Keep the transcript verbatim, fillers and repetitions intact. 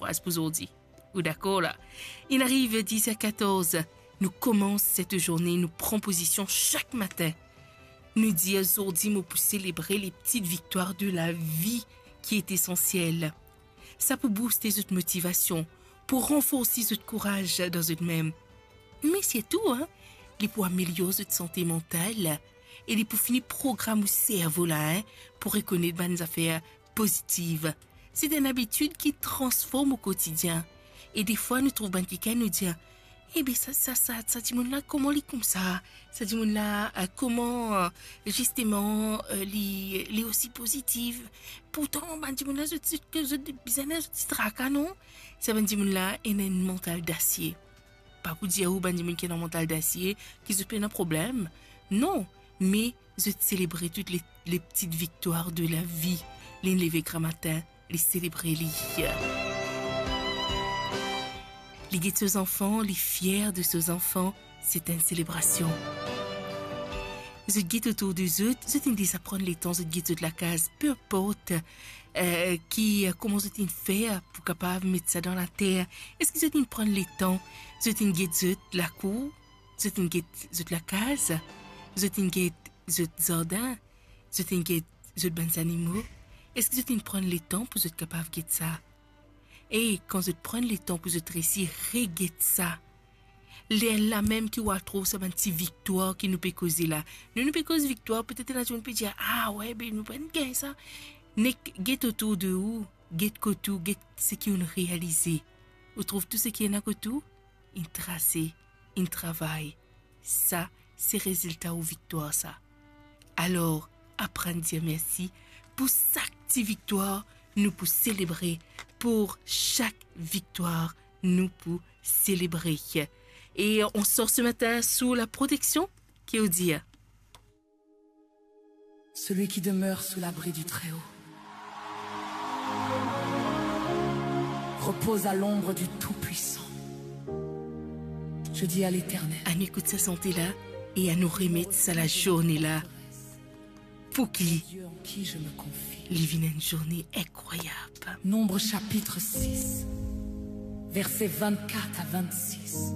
Pas pou zordi. Ou dakor la? Inn ariv diz er katorz. Nou koumans set zourne, nou pran pozision sak matin. Nou dir, zordi mo pou selebre le pti viktwar de lavi ki esansiel. Sa pou bouste zot motivasion, pou ranforsi zot kouraz dan zot mem. Me sirtou, hein, li pou amelior zot sante mantal e li pou fini program ou servo la, hein, pou rekonet bann zafer pozitiv. Se enn abitid ki transform ou kotidien. E defwa, nou trouv bann kikenn, nou dir, "Ebe, sa, sa, sa, sa dimoun la, kouma li koumsa? Sa dimoun la, eh, kouma, eh, zisteman, eh, li, li osi pozitiv? Pourtan, bann dimoun la, zot, zot, zot bizin, zot ti traka, non?" Sa bann dimoun la, ena enn mantal dasie. Pa pou dir ou bann dimoun ki ena mantal dasie, ki zot pena problem. Non, me zot selebre tou le, le pti viktwar de lavi. Li leve gramatin, li selebre li. Li get so zanfan, li fier de so zanfan, se enn selebrasion. Zot get otour de zot, zot inn deza pran letan, zot get zot lakaz, pe inport, eh, ki, eh, kouma zot inn fer pou kapav met sa dan later. Eski zot inn pran letan, zot inn get zot lakour, zot inn get zot lakaz, zot inn get zot zardin, zot inn get zot bann zanimo? Eski zot inn pran letan pou zot kapav get sa? E kan zot pran letan pou zot resi reget sa, lerla mem ki ou al trouv sa bann ti viktwar ki nou pe koze la. Nou, nou pe koz viktwar, petet ena dimoun pe dir, "Ah we, be nou pa'nn gagn sa." Nek get otour de ou, get kot ou, get seki ou'nn realize. Ou trouv tou seki ena kot ou, inn trase, inn travay. Sa, se rezilta ou viktwar sa. Alor, aprann dir mersi pou sak ti viktwar nou pou selebre, pou sak viktwar nou pou selebre. E on sort se matin sou la proteksion, ki ou dir? Celui qui demeure sous l'abri du Très-Haut repose à l'ombre du Tout-Puissant. Je dis à l'Éternel, Ann ekout sa sante la e annou remet sa lazourne la pou ki Dieu en qui je me confie. Li vinn enn zourne inkrwayab. Nombre chapitre six, versets vingt-quatre à vingt-six.